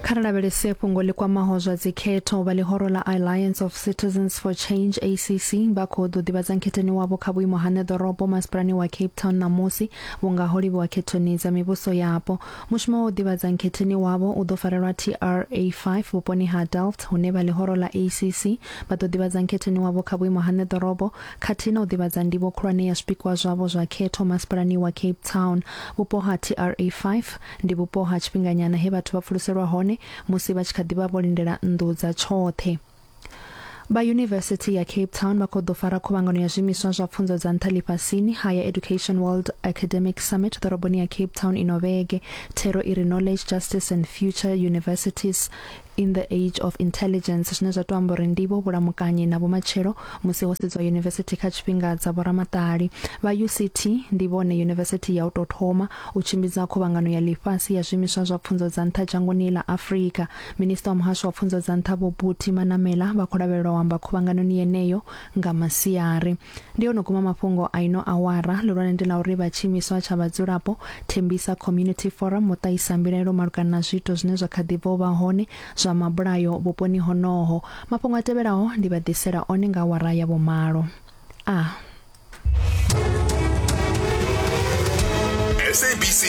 Kha ri lavhelese fhungo ḽi kwamaho zwa dzikhetho. Vha ḽihoro ḽa Alliance of Citizens for Change, ACC, vha khou ḓo ḓivhadza nkhetheni wavho kha vhuimo ha ṋeḓorobo masipalani wa Cape Town ṋamusi vhunga ho livhiwa khethoni dza mivhuso yapo. Mushumo wa u ḓivhadza nkhetheni wavho u ḓo farelwa TRA5 vhuponi ha Delft hune vha ḽihoro ḽa ACC vha ḓo ḓivhadza nkhetheni wavho kha vhuimo ha ṋeḓorobo khathihi na u ḓivhadza ndivho khulwane ya zwipikwa zwavho zwa khetho masipalani wa Cape Town. Vhupo ha TRA5 Ndi vhupo ha tshifhinganyana he vhathu vha pfuluselwa hone musi vha tshi kha ḓi vha vho lindela nnḓu dza tshoṱhe. Vha Yunivesithi ya Cape Town vha khou ḓo fara khuvhangano ya zwiimiswa zwa pfunzo dza nṱha ḽifhasini, Higher Education World Academic Summit, ḓoroboni ya Cape Town ino vhege. Thero i ri Knowledge, Justice and Future Universities in the Age of Intelligence, zwine zwa tou amba uri ndivho, vhulamukanyi na vhumatshelo musi ho sedzwa yunivesithi kha tshifhinga dza vhoramaṱali. Vha UCT ndi vhone yunivesithi ya u tou thoma u tshimbidza khuvhangano ya ḽifhasi ya zwiimiswa zwa pfunzo dza nṱha dzhangoni ḽa Afrika. Minisiṱa wa muhasho wa pfunzo dza nṱha Vho Buti Manamela vha khou lavhelelwa u amba khuvhanganoni yeneyo nga masiari. Ndi ho no guma mafhungo a ino awara. Ḽihulwane ndi ḽa uri vha tshiimiswa tsha vhadzulapo Thembisa Community Forum vho ṱahisa mbilaelo malugana na zwiito zwine zwa kha ḓi bva u vha hone zwa mabulayo vhuponi honoho. Mafhungo a tevhelaho ndi vha ḓisela one nga awara ya vhumalo. A. SABC.